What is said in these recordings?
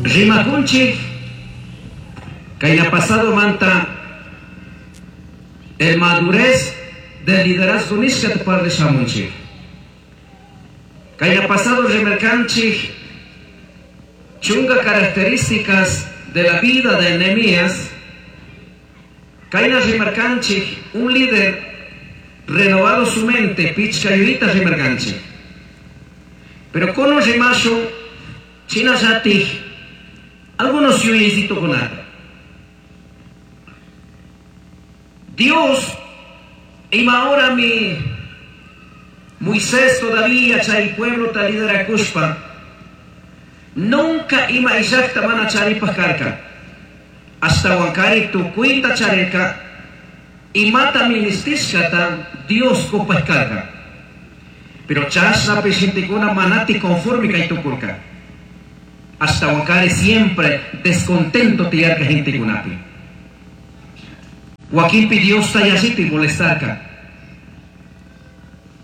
Rimakunchik kayna pasado manta el madurez del liderazgo nishkata parlashamunchik. Kayna pasado rimarkanchik chunga características de la vida de Nehemías. Kayna rimarkanchik un líder renovado su mente, pichka yuyita rimarkanchik. Pero kunan rimashun shinallatik algunos yuyaycitokunata. Dios ima horami Moisés todavía chay pueblota liderakushpa nunca ima illajta mana charipaj karka. Ashtahuankari tukuyta charirka imata ministishkata Dios cupaj karka. Pero chashnapish gentekuna manati conforme kay tukurka. Ashtahuankari siempre descontento tiyarka gentekunapi. Wakinpi Diosta yalliti molestarka.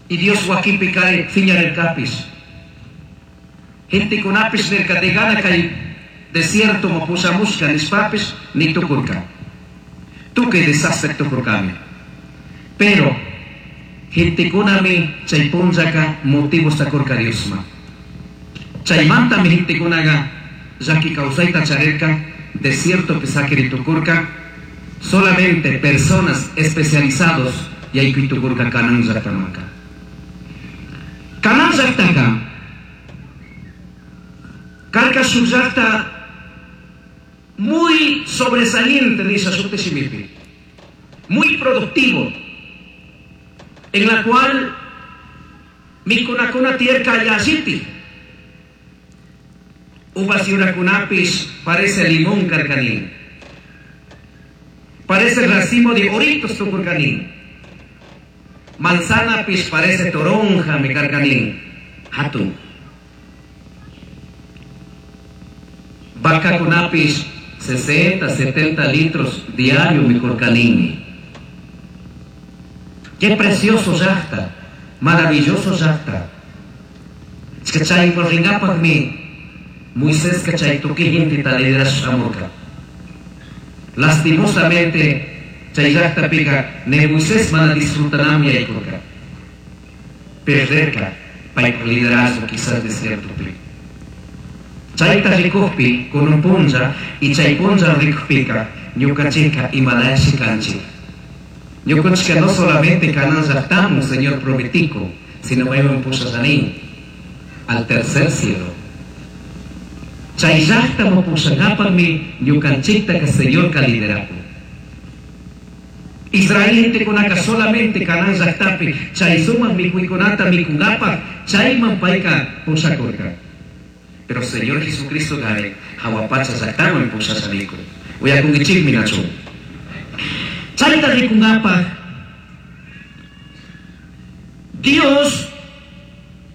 Y Dios wakinpi kari fiñarirkapish. Gentekunapish nirka de gana kay desierto ma pushamushka nishpapish ni tukurka. Tukuy desastre tukurkami. Pero gentekunami chay punllaka motivos kurka Diosma. Chaymantami gentekunaga llaki kawsayta charirka desiertopi sakiri tukurka solamente personas especializados yaykuy tukurka Canaán llaktamanka. Canaán llaktaka karka shuk llakta muy sobresaliente nisha shuti shimipi, muy productivo, en la cual mikunakuna tiyarka yalliti. Uvas yurakunapish parece limón karkanin, parece racimo de oritos tukurkanin, manzana pish parece toronja mi karkanin, hatun. Vacakunapish 60, 70 litros diario mi kurkanini. Qué precioso llakta, maravilloso llakta. Chay ringapaqmi Moisés chay tukuy genteta liderashamurka. Lastimosamente chay llaktapika ne Moisés mana disfrutanami yaykurka. Perderka paypa liderazgo quizás desiertopi. Chayta rikukpi kunan punlla y chay punlla rikukpika ñukanchikka imalashi kanchik. Ñukanchikka no solamente Canaán llaktamun Señor prometico, sino mayman pushallanin al tercer cielo. Chay llaktaman pushangapaqmi ñukanchiktaka Señorka liderakun. Israel gentekunaka solamente Canaán llaktapi chay sumaq mikuykunata mikunkapaq chayman payka pushakurka. Pero Señor Jesucristo gare jahua pacha llaktaman pushashanikun. Uyakunkichikmi nachu. Chayta rikunkapaq Dios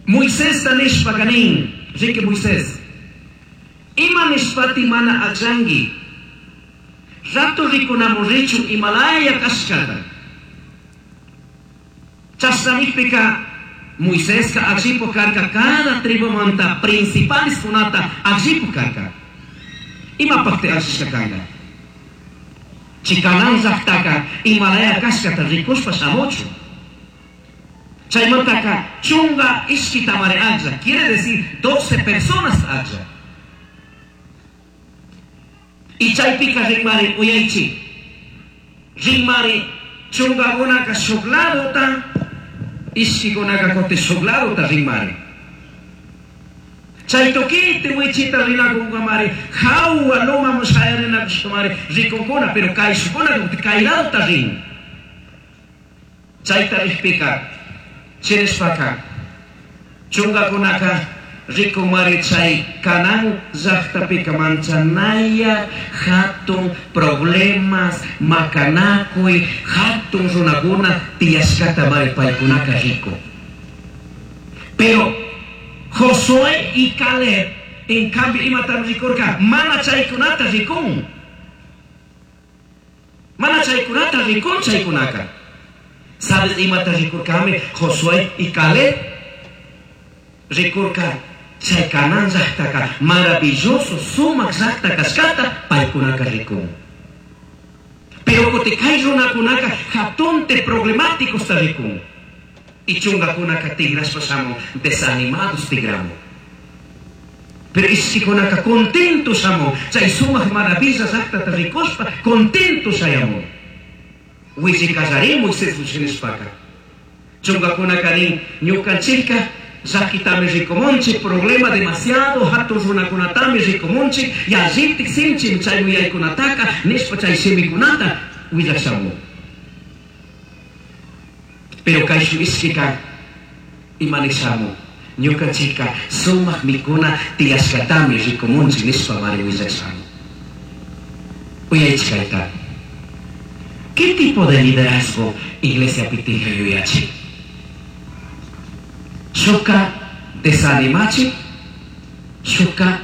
Moisesta nishpaka nin, riki Moisés, ima nishpati mana akllanki, rato rikunamun richun imalaya kashkata. Chashna nikpika Moiseska akllipuk karka cada tribumanta principales kunata akllipuk karka. Imapakti akllishka kanka? Chay Canaán llaktaka imalaya kashkata rikushpa shamuchun. Chaymantaka chunga ishkitamari aklla, quiere decir 12 personas aklla. Y chaypika rinmari uyaychi. Rinmari chungakunaka shuk ladota, ishkikunaka kutin shuk ladota rinmari. Chay tukiti wichita rinakunkamari, jahua lomaman shayarinakushkamari rikunkuna, pero kayshukuna kutin kay ladota rin. Chayta rikpika, chinishpaka, chungakunaka rikunmari chay Canaán llaktapika manchanaya hatun problemas, makanakuy, hatun runakuna tiyashkata mari paykunaka rikun. Pero Josué y Caleb, en cambio, imata rikurka, mana chaykunata rikun. Mana chaykunata rikun chaykunaka. ¿Sabes imata rikurkami Josué y Caleb? Rikurka Chay Canaán llaqtaqa maravilloso sumaq llaqta kashkata paykunaka rikun. Pero kutin kay runakunaka hatunte problemáticosta rikun. Y chungakunaka tigrashpa shamun desanimados tigramun. Pero ishkikunaka contento shamun chay sumaq maravilla llaqtata rikushpa contento shayamun. Willikallarin Moisés nishpaka. Chungakunaka nin ñukanchikka llakitami rikumunchik problema demasiado hatun runakunatami rikumunchik yallitik sinchimi chay yuyaykunataka nishpa chay shimikunata willashamun. Pero kayshuk ishkika ima nishamun ñukanchikka sumaq mikuna tiyashkatami rikumunchik nishpa mari willashamun. Uyaychik kayta. ¿Qué tipo de liderazgo iglesia pitija yuyachi? Shukka desanimachi, shukka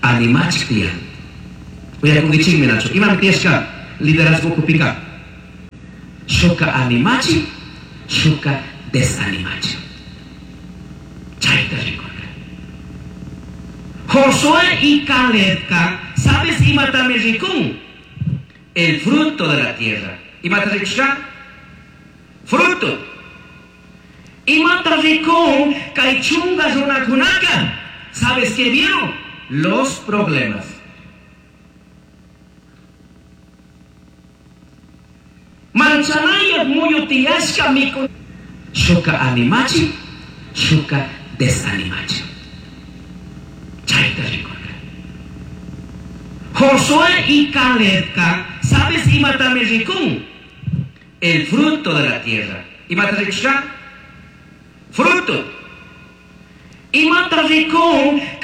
animachik tiyan. Uyakunkichikmi nachu. Imami tiyashka liderazgo ukupika? Shukka animachi, shukka desanimachi. Chayta rikurka. Josué y Calebka, ¿sabes imatami rikun? El fruto de la tierra. Imata rikushka? Fruto. Imata rikun kay chunga runakunaka. ¿Sabes qué vieron? Los problemas. Manchanaya muyu tiyashka miku. Shukka animachi, shukka desanimachi. Chayta rikurka. Josué y Calebka, ¿sabes imatami rikun? El fruto de la tierra. Imata rikushka? Fruto. Imata rikun.